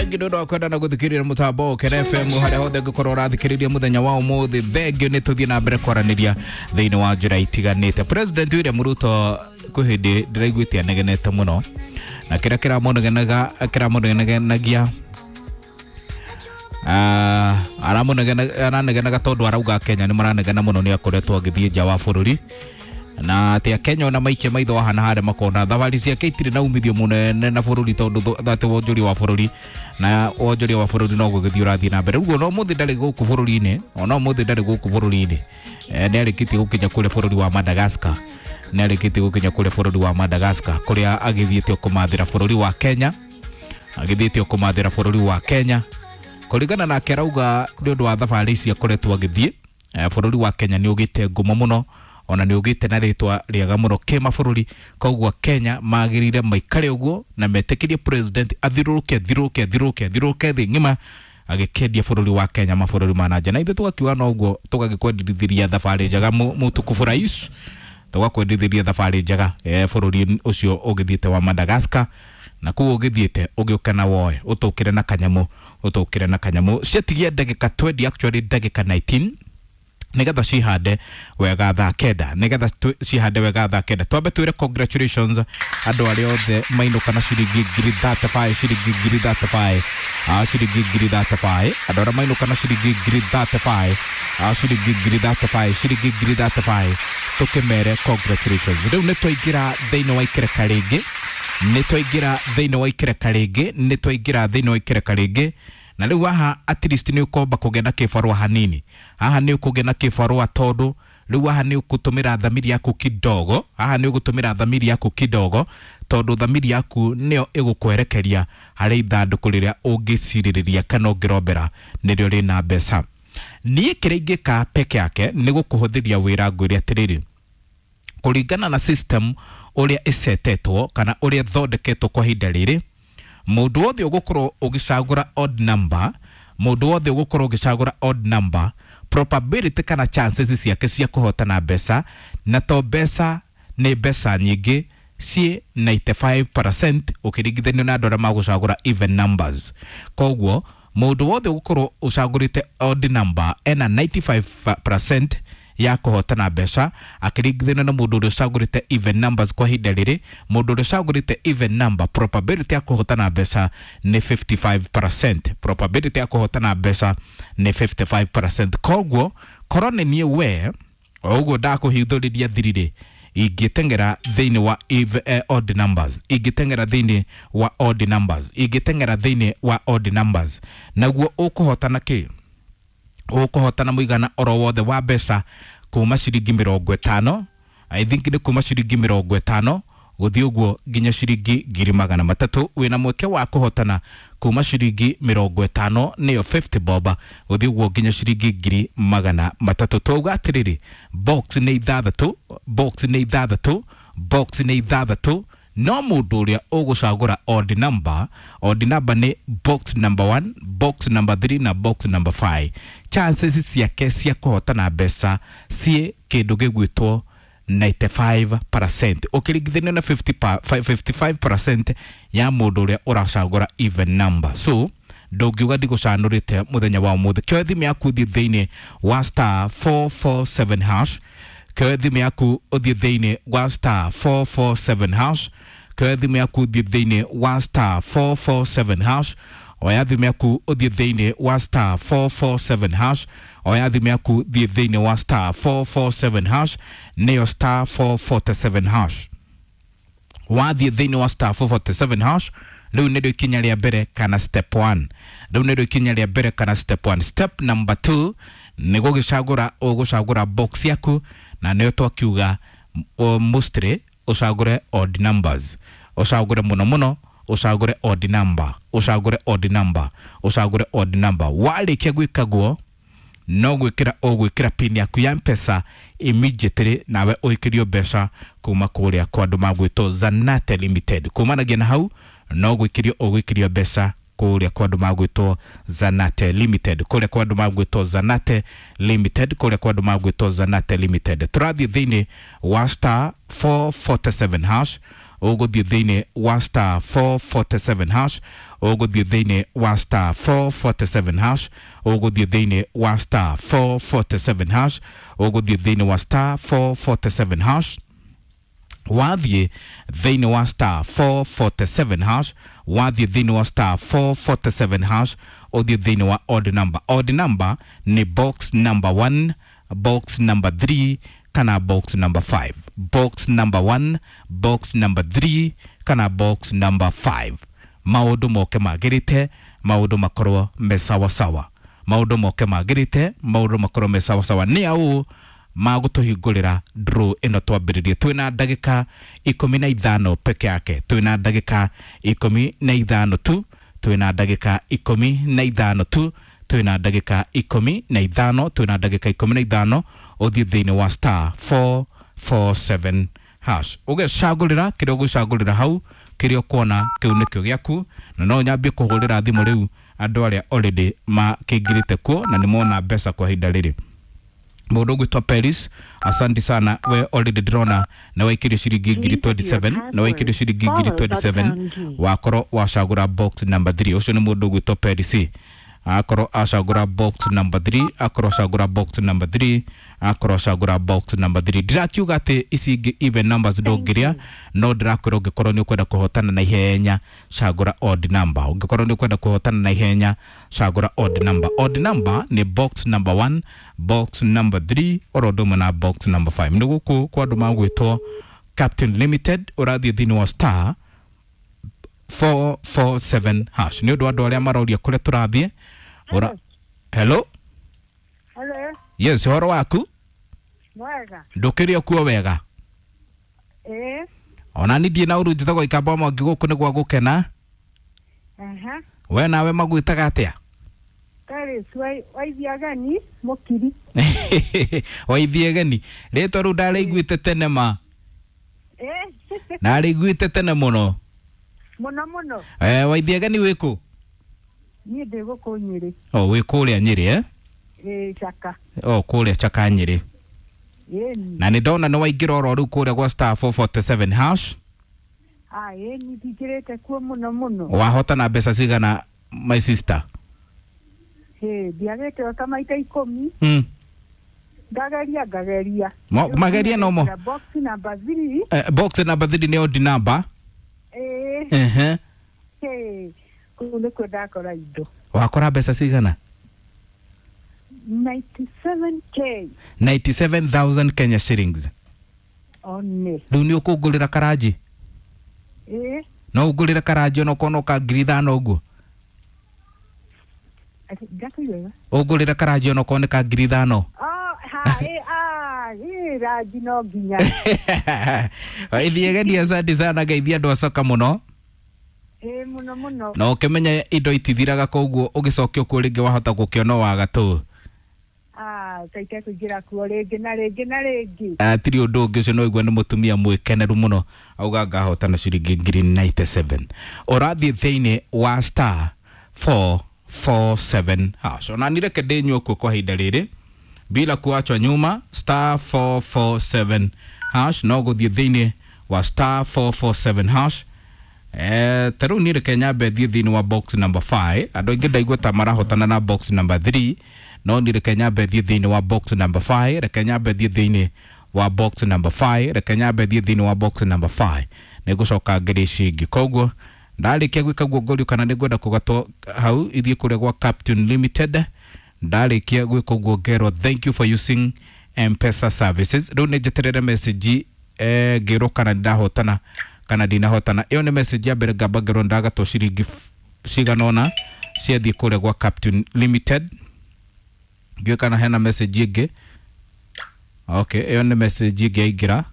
Thengiũ nĩ ũndũ wa kwenda na gũthikĩrĩria mũtambo Ũkĩra FM harĩa hothe ũngĩkorwo ũrathikĩrĩria mũthenya wa ũmũthĩ. Thengiũ nĩ tũthiĩ na mbere kwaranĩria thĩinĩ wa njĩra itiganĩte. President William Ruto kwĩ hĩndĩ ndĩraiguĩte anegenete mũno, na kĩrĩa kĩramũnegenagia aranegenaga tondũ arauga Kenya nĩ maranegena mũno nĩ akoretwo agĩthiĩ nja wa bũrũri, na atĩ Akenya ona maikia maitho haha na harĩa makona thabarĩ ciake itirĩ na umithio mũnene na bũrũri, tondũ atĩ wonjoria wa bũrũri na wonjoria wa bũrũri no gũgĩthiĩ ũrathiĩ na mbere. Rĩu ona ũmũthĩ ndarĩ gũkũ bũrũri-inĩ, ona ũmũthĩ ndarĩ gũkũ bũrũri-inĩ. Nĩ arĩkĩtie gũkinya kũrĩa bũrũri wa Madagascar, nĩ arĩkĩtie gũkinya kũrĩa bũrũri wa Madagascar kũrĩa agĩthiĩte kũmathĩra bũrũri wa Kenya, agĩthiĩte kũmathĩra bũrũri wa Kenya. Kũringana nake arauga nĩ ũndũ wa thabarĩ ici akoretwo agĩthiĩ, bũrũri wa Kenya nĩ ũgĩte ngumo mũno, ona nĩ ũgĩte na rĩtwa rĩega mũno kĩmabũrũri. Koguo Kenya magĩrĩire maikare ũguo na metĩkĩrie president athiũrũrũke athiũrũrũke athiũrũrũke athiũrũrũke thĩ ng'ima agĩkendia bũrũri wa Kenya mabũrũri ma nanja. Na ithuĩ tũgakiuga no ũguo, tũgagĩkwendithĩria thabarĩ njega mũtukufu rais, tũgakwendithĩria thabarĩ njega bũrũri ũcio ũgĩthiĩte wa Madagascar, na kũu ũgĩthiĩte ũgĩũke na woe ũtũkĩre na kanyamũ, ũtũkĩre na kanyamũ. Ciatigia ndagĩka 20, actually ndagĩka 19, nigetha cihande wega thaa kenda, nigetha cihande wega thaa kenda. Twambe twĩre congratulations andũ arĩa othe mainũka na ciringi ngiri 35, ciringi ngiri 35, ciringi ngiri 35, andũ arĩa mainũka na ciringi ngiri 35, ciringi ngiri 35, ciringi ngiri 35, tũkĩmere congratulations. Rĩu nĩ twaingĩra thĩinĩ wa ikereka rĩngĩ, nĩ twaingĩra thĩinĩ wa ikereka rĩngĩ, nĩ twaingĩra thĩinĩ wa ikereka rĩngĩ. Na rĩu haha at least nĩ ũkomba kũgĩa na kĩbarũa hanini, haha nĩ ũkũgĩa na kĩbarũa tondũ rĩu haha nĩ ũgũtũmĩra thamiri yaku kidogo, haha nĩ ũgũtũmĩra thamiri yaku kidogo tondũ thamiri yaku nĩyo ĩgũkwerekeria harĩ ithandũkũ rĩrĩa ũngĩcirĩrĩria kana ũngĩrombera nĩrĩo rĩna mbeca. Niĩ kĩrĩa ingĩka peke yake nĩ gũkũhũthĩria wĩra, ngwĩre atĩrĩrĩ, kũringana na system ũrĩa ĩcetetwo kana ũrĩa ĩthondeketwo kwa ihinda rĩrĩ, mũndũ wothe ũgũkorwo ũgĩcagũra odd number, mũndũ wothe ũgũkorwo ũgĩcagũra odd number, probability kana chances ciake cia kũhotana mbeca, na to mbeca nĩ mbeca nyingĩ, ciĩ 95% ũkĩringithanio na andũ arĩa magũcagũra even numbers. Koguo mũndũ wothe ũgũkorwo ũcagũrĩte odd number ena 95% ya kũhotana mbeca akĩringithanio na mũndũ ũrĩa ũcagũrĩte even numbers. Kwa ihinda rĩrĩ mũndũ ũrĩa ũcagũrĩte even number probability ya kũhotana mbeca nĩ 55%, probability ya kũhotana mbeca nĩ 55%. Koguo korwo nĩ niĩ we o ũguo ndakũhithũrĩria thiri-rĩ, ingĩteng'era thĩinĩ wa odd numbers, ingĩteng'era thĩinĩ wa odd numbers, ingĩteng'era thĩinĩ wa odd numbers, naguo ũkũhotana kĩ? Ũkũhotana mũigana oro wothe wa mbeca kuma ciringi 50, I think nĩ kuma ciringi 50 gũthiĩ ũguo nginya ciringi ngiri magana matatũ. Wĩna mweke wa kũhotana kuma ciringi 50, nĩyo 50 bob, gũthiĩ ũguo nginya ciringi ngiri magana matatũ. Twauga atĩrĩrĩ, box nĩ ithathatũ, box nĩ ithathatũ, box nĩ ithathatũ, no mũndũ ũrĩa ũgũcagũra odd number, odd number nĩ box number 1, box number 3 na box number 5, chances ciake cia kũhotana mbeca ciĩ kĩndũ gĩgwĩtwo 95% ũkĩringithania na 55% ya mũndũ ũrĩa ũracagũra even number. So ndũngiuga ndigũcanũrĩte mũthenya wa ũmũthĩ. Kĩoe thimũ yaku ũthiĩ thĩinĩ wa star 447 hash, kĩoe thimũ yaku ũthiĩ thĩinĩ wa star 447 hash, kĩoe thimũ yaku ũthiĩ thĩinĩ wa star 447 hash, oya thimũ yaku ũthiĩ thĩinĩ wa star 447 hash, oya thimũ yaku thiĩ thĩinĩ wa star 447 hash, nĩyo star 447 hash. Wathiĩ thĩinĩ wa star 447 hash, rĩu nĩrĩo ikinya rĩa mbere kana step 1, rĩu nĩrĩo ikinya rĩa mbere kana step 1. Step number 2 nĩ gũgĩcagũra, ũgũcagũra box yaku, na nĩyo twakiuga mostly ũcagũre odd numbers, ũcagũre mũno mũno, ũcagũre odd number, ũcagũre odd number, ũcagũre odd number. Warĩkia gwĩka guo no gwĩkĩra ũgwĩkĩra pin yaku ya Mpesa immediately, nawe ũikĩrio mbeca kuma kũrĩa kwa andũ magwĩtwo Zanate Limited. Kumanagia na hau no gwĩkĩrio ũgwĩkĩrio mbeca kũrĩa kwa andũ magwĩtwo Zanate Limited, kũrĩa kwa andũ magwĩtwo Zanate Limited, kũrĩa kwa andũ magwĩtwo Zanate Limited. Tũrathiĩ thĩinĩ wa star 447 hash. Ũgũthiĩ thĩinĩ wa star 447 hash, ũgũthiĩ thĩinĩ wa star 447 hash, ũgũthiĩ thĩinĩ wa star 447 hash, ũgũthiĩ thĩinĩ wa star 447 hash. Wathiĩ thĩinĩ wa star 447 hash, wathiĩ thĩinĩ wa star 447 hash, ũthiĩ thĩinĩ wa odd number. Odd number nĩ box number 1, box number 3 kana box number 5. Box number 1, box number 3 kana box number 5. Maũndũ moke magĩrĩte, maũndũ makorwo me sawasawa, maũndũ moke magĩrĩte, maũndũ makorwo me sawasawa. Nĩ aũ magũtũhingũrĩra draw ĩno twambĩrĩrie? Twĩna ndagĩka 15 peke yake, twĩna ndagĩka 15 tu, twĩna ndagĩka 15 tu, twĩna ndagĩka 15, twĩna ndagĩka 15. Ũthiĩ thĩinĩ wa star 447 hash, ũgecagũrĩra kĩrĩa ũgũcagũrĩra hau, kĩrĩa ũkuona kĩu nĩkĩo gĩaku. Na no nyambie kũhũrĩra thimũ rĩu andũ arĩa already makĩingĩrĩte kuo na nĩ mona mbeca kwa ihinda rĩrĩ. Mũndũ ũgwĩtwo Paris, asante sana. We already ndĩrona nĩ waikĩrio ciringi ngiri 27, nĩ waikĩrio ciringi ngiri 27, wakorwo wacagũra box number 3. Ũcio nĩ mũndũ ũgwĩtwo Paris, akorwo acagũra box number 3, akorwo acagũra box number 3, akorwo acagũra box number 3. Ndirakiuga atĩ ici ingĩ even numbers ndũngĩrĩa, no ndĩrakwĩra ũngĩkorwo nĩ ũkwenda kũhotana na ihenya, cagũra odd number. Ũngĩkorwo nĩ ũkwenda kũhotana na ihenya, cagũra odd number. Odd number nĩ box number 1, box number 3, oro ũndũ ũmwe na box number 5. Nĩ gũkũ kwa andũ magwĩtwo Captain Limited, ũrathiĩ thĩinĩ wa star 447 hash. Nĩ ũndũ wa andũ arĩa maroria kũrĩa tũrathiĩ. Ora, hello. Hello. Yes, ũhoro waku? Mwega. Ndũkĩrĩ okuo wega? Ĩĩ. Ona ni ndiĩ na ũru, njĩtagwo Ikamba Mwangi, gũkũ nĩ gwa gũkena. Aha. We nawe magwĩtaga atĩa? Paris waithiagani mũkiri. Waithiegeni, rĩtwa rĩu ndarĩiguĩte tene ma. Ĩĩ. Ndarĩiguĩte tene mũno. Mũno mũno. Eh, waithiegeni wĩkũ? Niĩ ndĩ gũkũ Nyĩrĩ. O wĩ kũrĩa Nyĩrĩ, eh? Ĩĩ, Chaka. O kũrĩa Chaka Nyĩrĩ. Ĩni. Na nĩ ndona nĩ waingĩra oro rĩu kũrĩa gwa star 447 hash. Ah, ĩni ndingĩrĩte kuo mũno mũno. Wahotana mbeca cigana, my sister? Ĩĩ, ndiagĩte o ta maita 10. Ngageria ngageria. Mageria no mo. Box number 3. Eh, box number 3 nĩ odd number. Ĩĩ. Ehe. Ĩĩ. Kũu nĩkuo ndakora indo. Wakora mbeca cigana? 97K. 97,000 Kenya shillings. One. Rĩu nĩ ũkũngũrĩra karanji? Ĩĩ. No ũngũrĩre karanji onokorwo no ka 5,000 ũguo? Ndakũigua. Ũngũrĩre karanji onokorwo nĩ ka 5,000? Oh, ha, ĩ, ah, ĩ, rangi no nginya. Ithiĩ geni, asante sana, geithia andũ acoka mũno. Ĩ, mũno mũno. Na ũkĩmenye indo itithiraga, koguo ũgĩcokio kuo rĩngĩ wahota gũkĩona waga tũ. Ah, taite kũingĩra kuo rĩngĩ na rĩngĩ na rĩngĩ. Tiri ũndũ ũngĩ, ũcio no igua nĩ mũtumia mwĩkeneru mũno, auga ngahotana ciringi ngiri 97. Ũrathiĩ thĩinĩ wa star 447 hash. Ona ni reke ndĩnyue kuo kwa ihinda rĩrĩ bila kuachwa nyuma. Star 447 hash, no gũthiĩ thĩinĩ wa star 447 hash. Eh, ta rĩu niĩ reke nyambe thiĩ thĩinĩ wa box number 5. Andũ aingĩ ndaigua ta marahotana na box number 3, no niĩ reke nyambe thiĩ thĩinĩ wa box number 5. Reke nyambe thiĩ thĩinĩ wa box number 5, reke nyambe thiĩ thĩinĩ wa box number 5, nĩ ngũcoka ngĩrĩ ici ingĩ. Koguo ndarĩkia gwĩka guo ngorio kana nĩ ngwenda kũgatwo hau ithiĩ kũrĩa gwa Captain Limited. Ndarĩkia gwĩka ũguo ngerwo thank you for using M-Pesa services. Rĩu nĩ njeterere message, ngĩrwo kana ndahotana kana ndinahotana. Ĩyo nĩ message ya mbere, ngamba ngerwo ndagatwo ciringi cigana ũna ciathiĩ kũrĩa gwa Captain Limited. Ndiũĩ kana hena message ĩngĩ. Okay, ĩyo nĩ message ĩngĩ yaingĩra.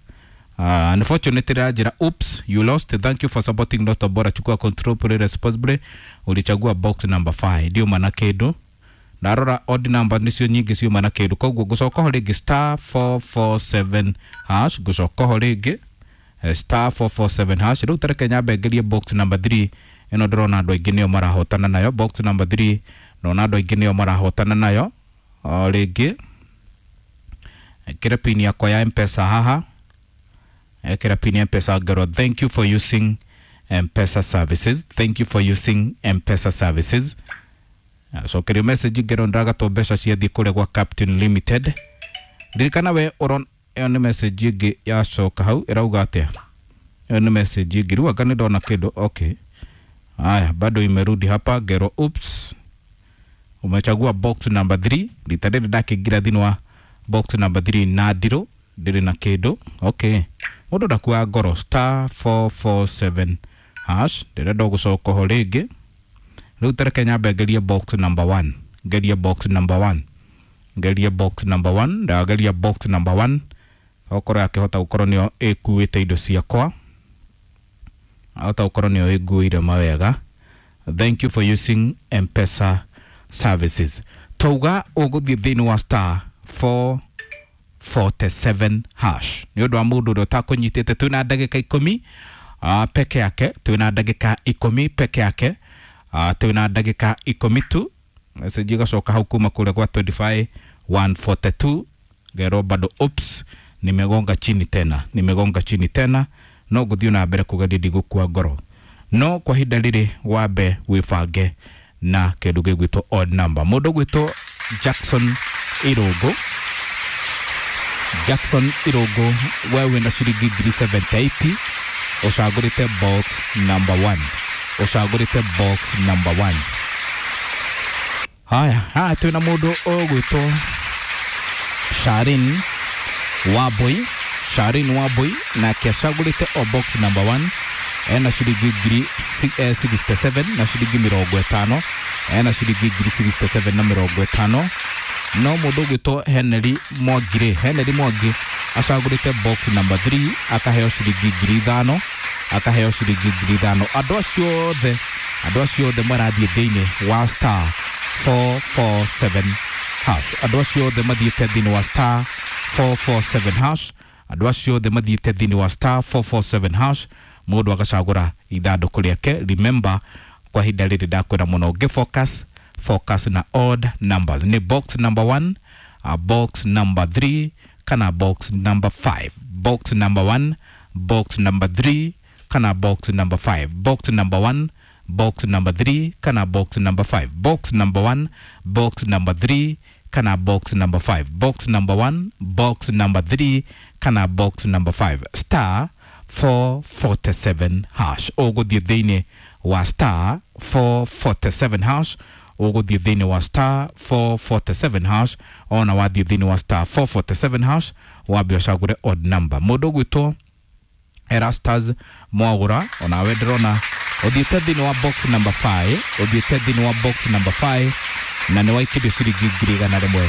Unfortunately ranjĩra oops, you lost, thank you for supporting Lotto Bora, chukua control, play responsibly, ulichagua box number 5. Ndiuma na kĩndũ. Ndarora odd number nicio nyingĩ ciuma na kĩndũ, koguo ngũcoka ho rĩngĩ star 447 hash, ngũcoka ho rĩngĩ, star 447 hash. Rĩu tareke nyambe ngerie box number 3 ĩno, ndĩrona andũ aingĩ nĩo marahotana nayo. Box number 3, ndona andũ aingĩ nĩo marahotana nayo. O rĩngĩ ĩkĩre pin yakwa ya M-Pesa haha. Ekĩra pin ya Mpesa ngerwo thank you for using Mpesa services, thank you for using Mpesa services. Acokerio message ngerwo ndagatwo mbeca ciathiĩ kũrĩa gwa Captain Limited. Ririkana we ũron ĩyo nĩ message ĩngĩ yacoka hau ĩrauga atĩa? Ĩyo nĩ message ĩngĩ rĩu anga nĩ ndona kĩndũ. Okay, haya bado imerudi hapa ngero oops, umechagua box number 3. Rita rĩrĩ ndakĩingĩra thĩinĩ wa box number 3 na ndirũ ndĩrĩ na kĩndũ. Okay, mũndũ ndakua ngoro, star 447 hash. Ndĩrenda gũcoka ho rĩngĩ. Rĩu tareke nyambe ngerie box number 1, ngerie box number 1, ngerie box number 1. Ndageria box number 1 okorwo yakĩhota gũkorwo nĩyo ĩkuĩte indo ciakwa, ahota gũkorwo nĩyo ĩnguĩire mawega. Thank you for using Mpesa services. Twauga ũgũthiĩ thĩinĩ wa star 447 hash. Nĩ ũndũ wa mũndũ ũrĩa ũtakũnyitĩte, twĩna ndagĩka 10 peke yake, twĩna ndagĩka 10 peke yake, twĩna ndagĩka 10 tu. Message igacoka hau kuma kũrĩa gwa 25 142 ngero bado oops, nimegonga chini tena, nimegonga chini tena. No gũthiĩ na mbere kũgeria, ndigũkua ngoro, no kwa ihinda rĩrĩ wambe wĩbange na kĩndũ gĩgwĩtwo odd number. Mũndũ ũgwĩtwo Jackson Irũngũ, Jackson Irũngũ, we wĩna ciringi ngiri 78, ũcagũrĩte box number 1, ũcagũrĩte box number 1. Haya haya, twĩna mũndũ ũgwĩtwo Sharin Wambui, Sharin Wambui nake acagũrĩte o box number 1, ena ciringi ngiri 67 na ciringi 50, ena ciringi ngiri 67 na 50. No mũndũ ũgwĩtwo Henry Mwangi, Henry Mwangi acagũrĩte box number 3, akaheo ciringi ngiri 5, akaheo ciringi ngiri 5. Andũ acio othe, andũ acio othe marathiĩ thĩinĩ wa star 447 hash. Andũ acio othe mathiĩte thĩinĩ wa star 447 hash. Andũ acio othe mathiĩte thĩinĩ wa star 447 hash, mũndũ agacagũra ithandũkũ rĩake. Remember, kwa ihinda rĩrĩ ndakwĩra mũno ngĩ focus, focus na odd numbers. Nĩ box number 1, box number 3 kana box number 5. Box number 1, box number 3 kana box number 5. Box number 1, box number 3 kana box number 5. Box number 1, box number 3 kana box number 5. Box number 1, box number 3 kana box number 5. Star 447 hash. Ũgũthiĩ thĩinĩ wa star 447 hash, ũgũthiĩ thĩinĩ wa star 447 hash. Ona wathiĩ thĩinĩ wa star 447 hash, wambe ũcagũre odd number. Mũndũ ũgwĩtwo Erastus Mwagũra, onawe ndĩrona ũthiĩte thĩinĩ wa box number 5, ũthiĩte thĩinĩ wa box number 5 na nĩ waikĩrio ciringi ngiri igana rĩmwe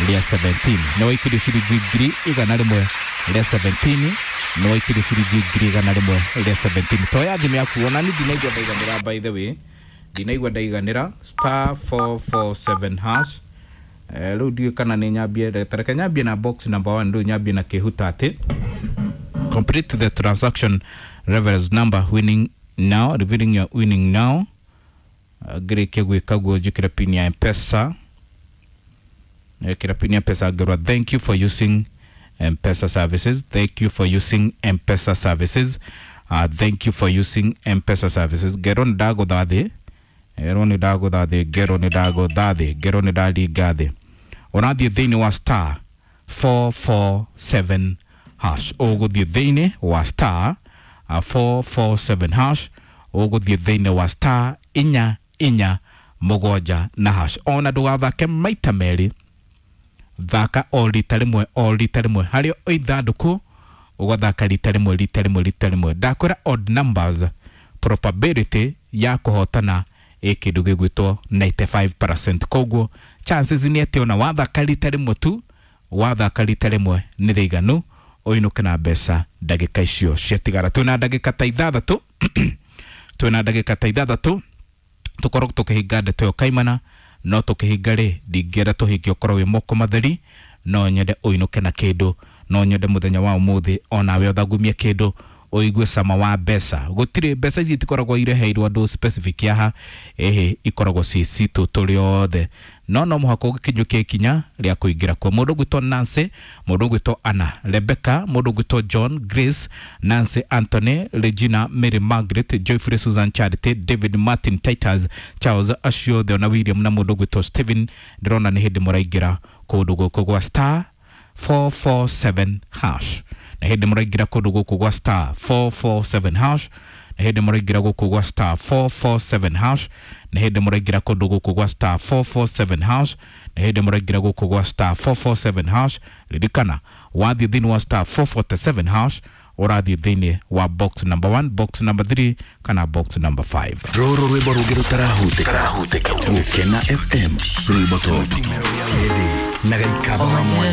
rĩa 17, nĩ waikĩrio ciringi ngiri igana rĩmwe rĩa 17, nĩ waikĩrio ciringi ngiri igana rĩmwe rĩa 17. Toya thimũ yaku, ona ni ndinaigua ndaiganĩra, by the way ndinaigua ndaiganĩra. Star 447 hash. Rĩu ndiũĩ kana nĩ nyambie, tareke nyambie na box number 1. Rĩu nyambie na kĩhuta atĩ complete the transaction reference number winning now, revealing your winning now. Ngĩrĩkia gwĩka guo njĩkĩre pin ya Mpesa, ĩkĩra pin ya Mpesa ngĩrwo thank you for using Mpesa services, thank you for using Mpesa services, thank you for using Mpesa services. Ngero nĩ ndagũtha thĩ, ngerwo nĩ ndagũtha thĩ, ngerwo nĩ ndagũtha thĩ, ngerwo nĩ ndaringa thĩ. Ũrathiĩ thĩinĩ wa star 447 hash, ũgũthiĩ thĩinĩ wa star 447 hash, ũgũthiĩ thĩinĩ wa star inya inya mũgwanja na hash. Ona ndũgathake maita merĩ, thaka o rita rĩmwe, o rita rĩmwe harĩ o ithandũkũ, ũgathaka rita rĩmwe, rita rĩmwe, rita rĩmwe. Ndakwĩra odd numbers probability ya kũhotana ĩ kĩndũ gĩgwĩtwo 95%. Koguo chances nĩ atĩ ona wathaka rita rĩmwe tu, wathaka rita rĩmwe nĩ rĩiganu ũinũke na mbeca ndagĩka icio ciatigara. Twĩna ndagĩka ta ithathatũ, twĩna ndagĩka ta ithathatũ tũkorwo tũkĩhinga ndeto ĩyo kaimana. No tũkĩhinga rĩ, ndingĩenda tũhinge ũkorwo wĩ moko matheri. No nyende ũinũke na kĩndũ, no nyende mũthenya wa ũmũthĩ onawe ũthagumie kĩndũ. Ũigue cama wa mbeca. Gũtirĩ mbeca ici itikoragwo ireheirwo andũ specific haha, ĩhĩ, ikoragwo ci citũ tũrĩ othe, no mũhaka ũgĩkinyũkie ikinya rĩa kũingĩra kuo. Mũndũ ũgwĩtwo Nancy, mũndũ ũgwĩtwo Anna Rebecca, mũndũ ũgwĩtwo John, Grace, Nancy, Anthony, Regina, Mary, Margaret, Joyfrey, Susan, Charity, David, Martin, Titus, Charles, acio othe ona William na mũndũ ũgwĩtwo Stephen, ndĩrona nĩ hĩndĩ mũraingĩra kũndũ gũkũ gwa star 447 hash. Na hĩndĩ mũraingĩra kũndũ gũkũ gwa star 447 hash, na hĩndĩ mũraingĩra gũkũ gwa star 447 hash, na hĩndĩ mũraingĩra kũndũ gũkũ gwa star 447 hash, na hĩndĩ mũraingĩra gũkũ gwa star 447 hash. Ririkana, wathiĩ thĩinĩ wa star 447 hash, ũrathiĩ thĩinĩ wa box number 1, box number 3 kana box number 5. Rũrũ rwĩmbo rũngĩ rũtarahutĩka. Gũkena FM, rwĩmbo top. Na gaikaba wa mwanya.